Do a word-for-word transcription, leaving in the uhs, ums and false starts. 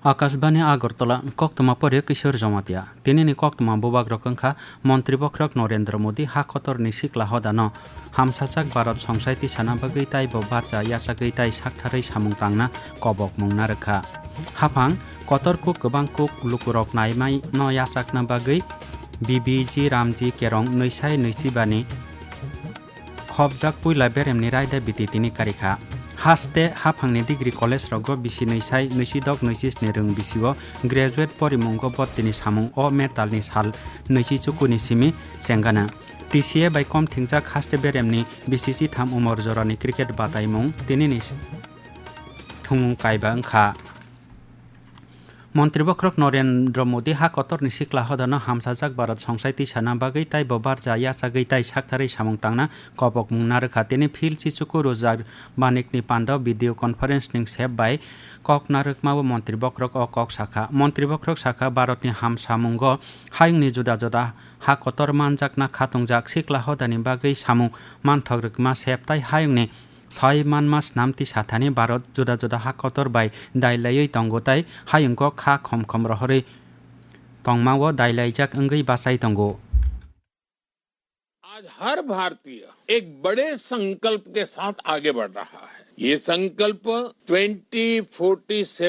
Akashbani Agartala, koktwma pore Kishore Jamatia. Tinini koktwma bubagrok wngkha Montri Bokhorok Narendra Modi ha kotorni sikla hodano hamsajak Bharat songchai tisana bagwi taibo barja yachagwi tai saktharwi samung tangna kobokmung narwkha. Haphang kotor kuk kwbang kuk lukurok naimai no yachakna bagwi B B G Ramji Kerong nwisai nwichibani khopjak puila beremni raida biti tini karikha. Haste haphangni degree college rogo bisi nwisai nwisidok nwisisni rwng bisio graduate porimungo bo tini samung o metalni sal nwichi chukuni simi chengana. T C A bai kom thingjak haste beremni bisi chitham umor jorani cricket bataimung tinini thumung kaiba wngkha. Montri Bokhorok Narendra Modi ha kotorni sikla hodano hamsajak Bharat songchai tisana bagwi taibo barja yachagwi tai saktharwi samung tangna kobokmung narwkha. Tini phil chichuku rwjak manikni pando video conference ning sep bai kok narwkmao Montri Bokhorok o kok sakha. Montri Bokhorok sakha, Bharatni hamsamungo hayungni juda juda ha kotor manjakna khatungjak sikla hodani bagwi samung manthok rwkma sep tai hayungni Sai manma snamti sathani Bharat juda juda ha kotor bai dailaiwi tongo tai hayungko kha khom khom rohorwi tongmao dailaijak wngwi bachai tongo. आज हर भारतीय एक बड़े संकल्प के साथ आगे बढ़ रहा है। ये संकल्प ट्वेंटी फोर्टी सेवन